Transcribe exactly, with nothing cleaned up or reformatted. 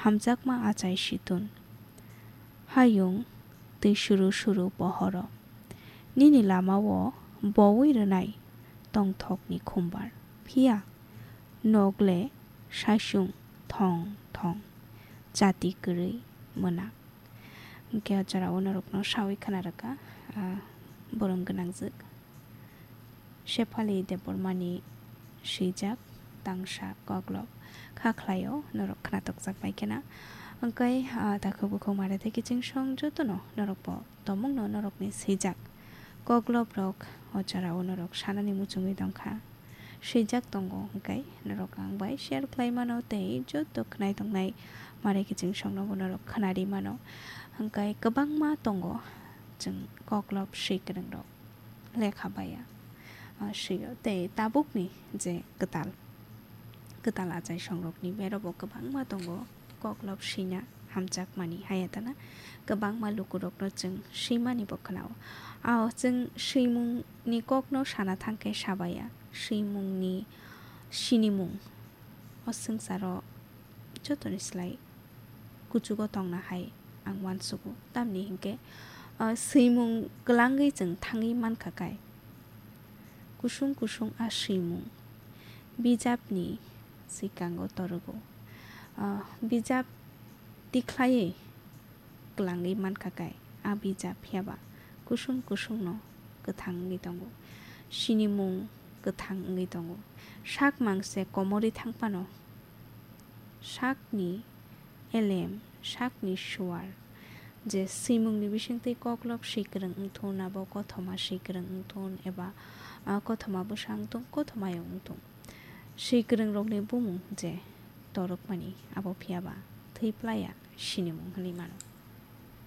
hamjakma achai situn. Hayung twi suru suru pohoro. Nini lamao bowi rwnai tongthokni khumbar. Phiya nogle saichung thong thong chati kwrwi mwnak. Hwnkhe o jorao norokno sawi khna rwkha, ah, borom gwnangjwk. Shephali Debbarmani swijak tangsa koklop kha khlaio, norok khnatukjak bai khena. Hwnkhe, ah, takhuk bukhuk mare tei kiching song jotono norokbo tomungno norokni swijak kokloprok o jorao norok sanani muchungwi tongkha. Swijak tongo, hwnkhe norok ang bai share khlai mano tei joto khnai tongnai mare kiching songnobo norok khnari mano. Hwnkhe kwbangma tongo chwng koklop swi kwrwngrok lekha baiya, ah, swio tei tabukni je kwtal, kwtal achai songrokni berobo kwbangma tongo koklop swina hamjakmani hayatana kwbangma lukurokno chwng swimani bo khwnao. Ao chwng swimungni kokno sana thangkhe sabaiya, swimungni sinimung o swngcharo jotoni slai kuchugo tongna hai ang uansugo. Tamni hinkhe, ah, swimung kwlangwi chwng thangwi mankha kai. Kusung kusung a swimung bijapni swkango torogo. Ah, bijap tikhlaiwi kwlangwi mankha kai. A bijap phiyaba kusung kusungno kwthang wngwi tongo. Sinimung kwthang wngwi tongo. Sak mangse komorwi thangphano sakni elem, sakni suar, je swimungni bisingtwi koklop swi kwrwng wngthun, abo kothoma swi kwrwng wngthun, eba, ah, kothoma bwsa wngthun, kothomayung wngthun. Swi kwrwngrokni bumung je torokmani, abo phiyaba thwi plaiya sinimung hwnwi mano.